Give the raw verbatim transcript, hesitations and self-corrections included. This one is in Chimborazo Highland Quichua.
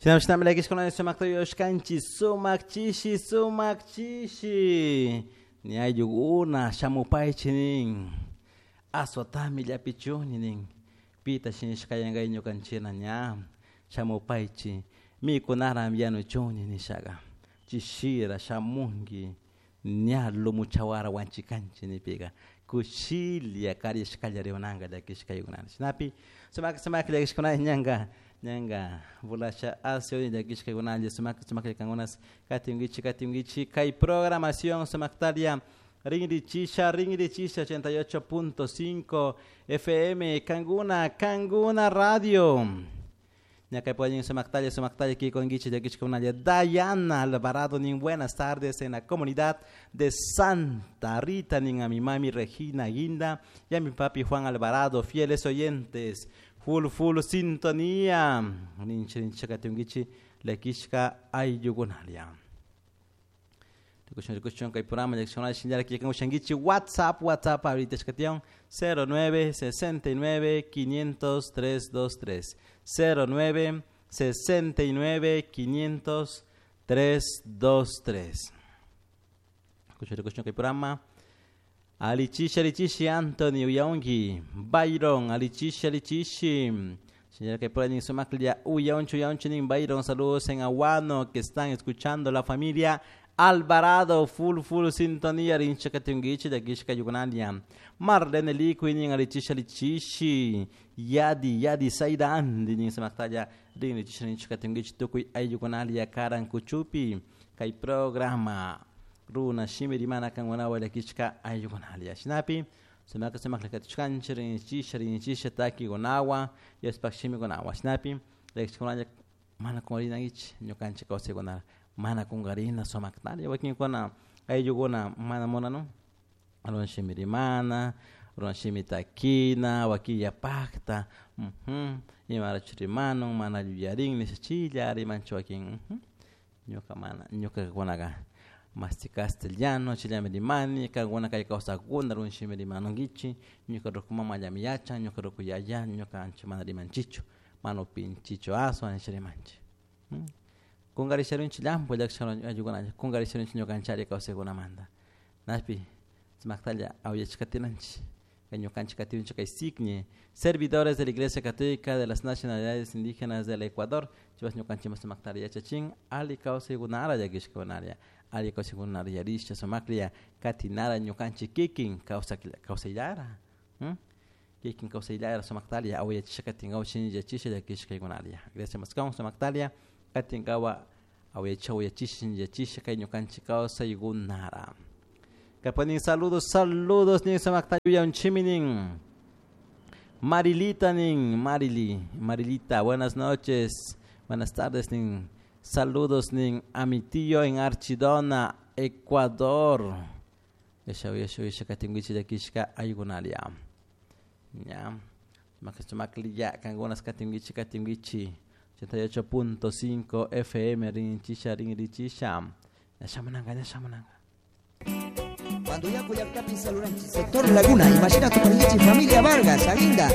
Shinami llakishkuna sumakta yuyashkanchik sumak chishi sumak chishi ni ayllukuna shamupaychik nin aswatami llapichuni nin pita shinishkayankay ñukanchikna ña shamupaychik mikunara yanuchuni nishaka chishira shamunki ña lumuchawara wanchikanchik nipika kushilla karishkalla rimananka llakishkaykunata shinapi sumak sumak llakishkuna ñanka ñanka bulasha asio llakishkaykunalla sumak sumak kankunas katinkichik katinkichik kay programación sumaktaria rinrichisha rinrichisha ochenta y ocho punto cinco F M Kanguna Kanguna Radio ñakaypuallin sumaktalla sumaktalla kikonkichik llakishkunalla Dayana Alvarado nin buenas tardes en la comunidad de Santa Rita nin a mi mami Regina Guinda y a mi papi Juan Alvarado, fieles oyentes full full sintonía ninchi ninchi katinkichik llakishka ayllukunalia rikushun rikushun kay programa llakishkunalla shinllara kikankushankichik WhatsApp WhatsApp ahorita shkation cero nueve sesenta y nueve quinientos tres dos tres cero nueve sesenta y nueve quinientos tres dos tres. Rikushun rikushun kay programa Alichishi alichishi Anthony uyaunki Byron alichishi alichishi señora que pueden sumaklia uyaunchu uyaunchu nin Byron saludos en Aguano que están escuchando la familia Alvarado full full sintonía rinchakatungichi de Kishka Yugunania Marlene Liquinin alichishi alichishi Yadi Yadi Saida Andi nin sumaktalla rinchishi rinchakatungichi tukuy ayugunalia karan kuchupi kay programa runa shimi rimana kangunawa llakishka ayugunalia shinapi sumaka sumak llakatushkanchik rinchisha rinchisha takigunawa yaspak shimikunawa shinapi llakishkunalla mana kungarinankichik ñukanchik kawsaykunara mana kungarina sumaktalla wakinkuna ayllukuna mana munanu runa shimi rimana runa shimi takina wakin yapakta uh-huh. Imarachu rimanun mana yuyarin nisha chilla rimanchu wakin uh-huh. Ñuka mana ñukakunaka masti castellano chillami rimani kankuna kay kawsakuna runa shimi rimanunkichik ñuka ruku mamallami yachan ñuka ruku yaya ñuka ancha mana rimanchichu mana upinchichu aswan nisha rimanchik hmm? Kungarisharunchik llampu llakishka ayllukuna kungarisharunchik ñukanchari kawsaykunamanta napi sumaktalla awllachikatinanchik kay ñukanchik katinchik kay Signe servidores de la Iglesia Católica de las Nacionalidades Indígenas del Ecuador chivas ñukanchik sumaktalla yachachin alli kawsaykunara llakishkakunaria alli kawsaykunara yarisha sumaklla katinara ñukanchik kikin kawsayllara hmm? Kikin kawsayllara sumaktalla awllachisha katinkawa shinllachisha llakishkaykunaria gracias maskawan sumaktalla katinkawa awyacha awyachisha yachisha kay ñukanchik kawsaykunara kapanin saludos saludos nin sumaktalla unchiminin Marilita nin Marili Marilita buenas noches buenas tardes nin saludos nin a mi tío en Archidona Ecuador yasha yasha yasha katinwichi llakishka aykunalia ña sumakliya kankunas katinwichi katinwichi ochenta y ocho punto cinco F M rinchisha rinrichisha ñashamunanka ñashamunanka Cuando ya Cuyactapi Saluranchi, sector Laguna, imagina tu familia Vargas, Aguinda.